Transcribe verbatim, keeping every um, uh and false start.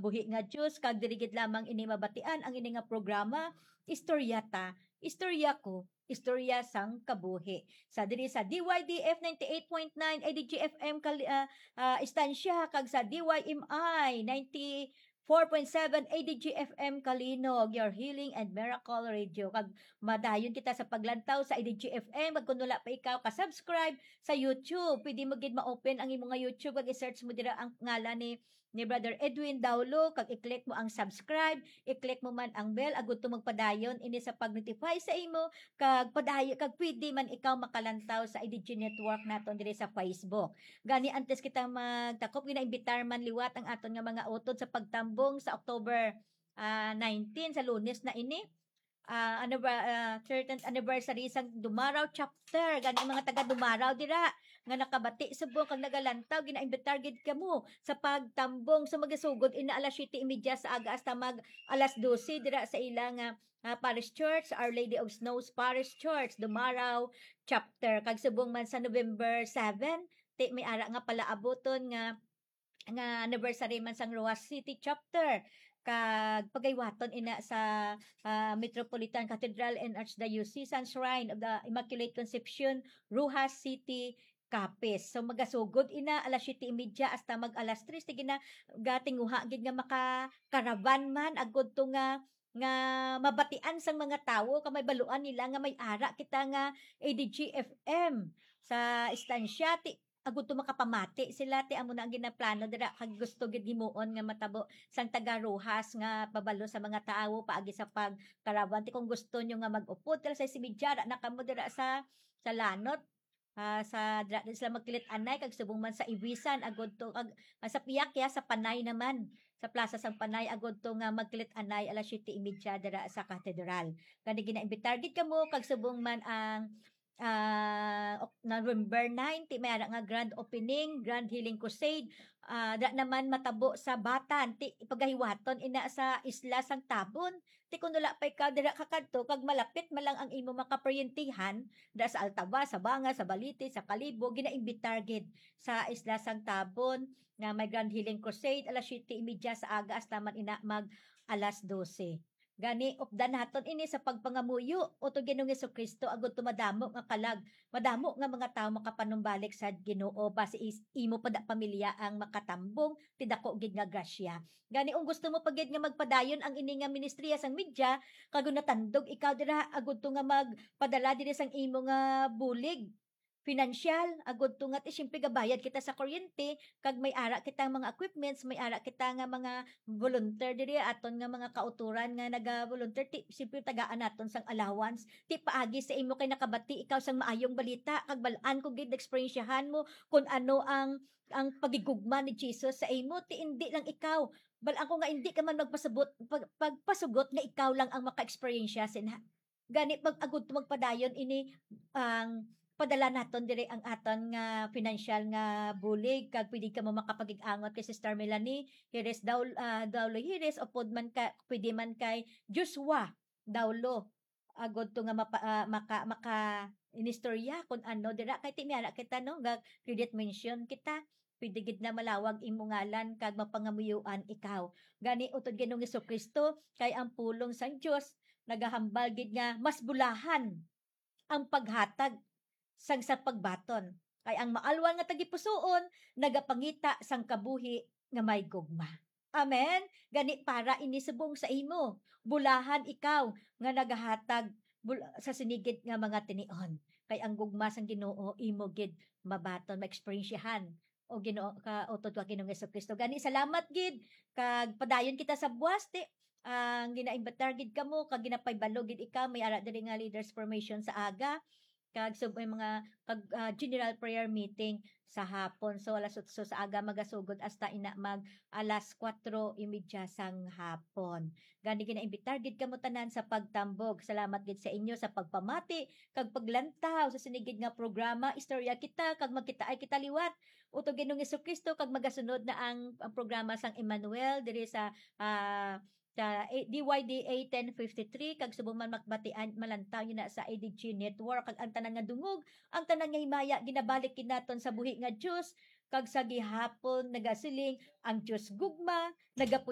Buhi nga Dios, kag diri gid lamang ini mabatian ang ini nga programa, Istorya Ta, Istorya Ko, Istorya sang Kabuhi. Sa diri sa D Y D F ninety-eight point nine A D G F M Kali-, ah, ah, Estancia, kag sa D Y M I ninety-four point seven A D G F M Kalinog, your healing and miracle radio. Kag madayon kita sa paglantaw sa A D G F M, kag kung wala pa ikaw ka-subscribe sa YouTube, pwede mo gid ma-open ang imo nga YouTube, kag i-search mo dira ang ngalan ni ni Brother Edwin Daulo, kag i-click mo ang subscribe, i-click mo man ang bell, agud to magpadayon ini sa pag-notify sa imo, kag padayon, kag pwede man ikaw makalantaw sa I D G Network naton diri sa Facebook. Gani, antes kita magtakop, ginaimbitar man liwat ang aton nga mga utod sa pagtambong sa October, ah, nineteen, sa Lunes na ini. Ah, ano ba, ah, thirteenth anniversary sang Dumaraw Chapter. Gani, mga taga Dumaraw dira nga nakabati subong kag nagalantaw, ginaimbitar gid kamo sa pagtambong. So, magasugod ina alas siyete y media sa aga hasta mag alas dose dira sa ila nga, ah, parish church, Our Lady of Snows Parish Church, Dumaraw Chapter. Kag subong man sa November seven, ti may ara nga palaabuton nga nga anniversary man sang Roxas City Chapter, kag pagaywaton ina sa, ah, Metropolitan Cathedral and Archdiocesan Shrine of the Immaculate Conception, Roxas City, Capiz. So, magasugod ina alas siyete y media hasta mag alas tres. Sige na, gatinguha gid nga maka-caravan man, agud to nga, nga mabatian sang mga tawo, kag mabaluan nila nga may ara kita nga A D G F M sa estansya. Ti, agud to makapamati sila, ti amo na ang ginaplano dira, kag gusto gid himuon nga matabo sang taga Roxas nga pabalo sa mga tawo paagi sa pag-caravan. Ti kung gusto nyo nga mag-upod, alas sais y media, ara na kamo dira sa, sa Lanot, ah, sa, dira din sila magkilit anay, kag subong man sa Ibisan, agud to, kag, ah, sa Piak, ya, sa Panay naman, sa Plaza sang Panay, agud to nga magkilit anay alas siyete y media dira sa Katedral. Gani, ginaimbitar gid kamo, kag subong man ang, ah, Ok-, November nine, ti may ara nga grand opening, grand healing crusade, ah, dira naman matabo sa Batan, ti pagahiwaton ina sa Isla sang Tabon. Ti kun wala pa ikaw dira kakadto, kag malapit man lang ang imo makaparyentihan, dira sa Altavas, sa Banga, sa Balite, sa Kalibo, ginaimbitar gid sa Isla sang Tabon nga may grand healing crusade, alas siyete y media sa aga hasta man ina mag alas dose. Gani, updan naton ini sa pagpangamuyo, utod Ginoong Jesu-Cristo, agud to madamo nga kalag, madamo nga mga tawo makapanumbalik sa Ginoo, basi is imo pa da pamilya ang makatambong ti dako gid nga grasya. Gani, kung gusto mo pa gid nga magpadayon ang ini nga ministriya sang media, kag natandog ikaw dira, agud to nga magpadala diri sang imo nga bulig, pinansyal, agud to nga ti, siyempre, gabayad kita sa kuryente, kag may ara kita mga equipments, may ara kita nga mga volunteer diri, aton nga mga kautoran nga naga-volunteer, ti, siyempre, tagaan naton sang allowance. Ti, paagi sa imo kay nakabati ikaw sang maayong balita, kag bal-an ko gid, eksperyensyahan mo kung ano ang, ang pagigugma ni Jesus sa imo. Ti, indi lang ikaw, bal-an ko nga indi ka man magpasabot, pag-, pagpasugot nga ikaw lang ang maka-eksperyensya sin-, gani, pag-, agud to magpadayon ini ang padala naton diri ang aton nga financial nga bulig, kag pwede kamo makapakig-angot kay Sister Melanie Hires Daul-, ah, Daulo Hires, upod man ka, pwede man kay Joshua Daulo, agud to nga mapa-, ah, maka-, maka-inistorya kung ano dira, kay ti may ara kita, no, ga credit mention kita. Pwede gid na malawag imo ngalan kag mapangamuyoan ikaw. Gani, utod Ginoong Jesu-Cristo, kay ang pulong sang Dios nagahambal gid nga mas bulahan ang paghatag sang sa pagbaton, kay ang maalwan nga tagipusoon nagapangita sang kabuhi nga may gugma. Amen. Gani, para ini subong sa imo, bulahan ikaw nga nagahatag bul-, sa sinigid nga mga tinion, kay ang gugma sang Ginoo imo gid mabaton, maeksperiensyahan, o Ginoo, ka, o utod ka Ginoong Jesu-Cristo. Gani, salamat gid, kag padayon kita sa buwas, ti, ang ginaimbitar gid kamo, kag ginapahibalo gid ikaw, may ara diri nga leaders formation sa aga, kag sub-, may mga, kag, ah, general prayer meeting sa hapon. So, alas otso sa aga magasugod hasta ina mag alas kuwatro y media sang hapon. Gani, ginaimbitar gid kamo tanan sa pagtambog. Salamat gid sa inyo sa pagpamati kag paglantaw sa sinigid nga programa, Istorya Kita, kag magkitaay kita liwat, utod Ginoong Jesu-Cristo, kag magasunod na ang, ang programa sang Emmanuel diri sa, ah, sa A-, D Y D A ten fifty-three, kag subong man makbatian, malantaw niyo na sa A D G Network, kag ang tanan nga dungog, ang tanan nga himaya, ginabalik gid naton sa buhi nga Dios, kag sa gihapon nagasiling, ang Dios gugma, nagapu-,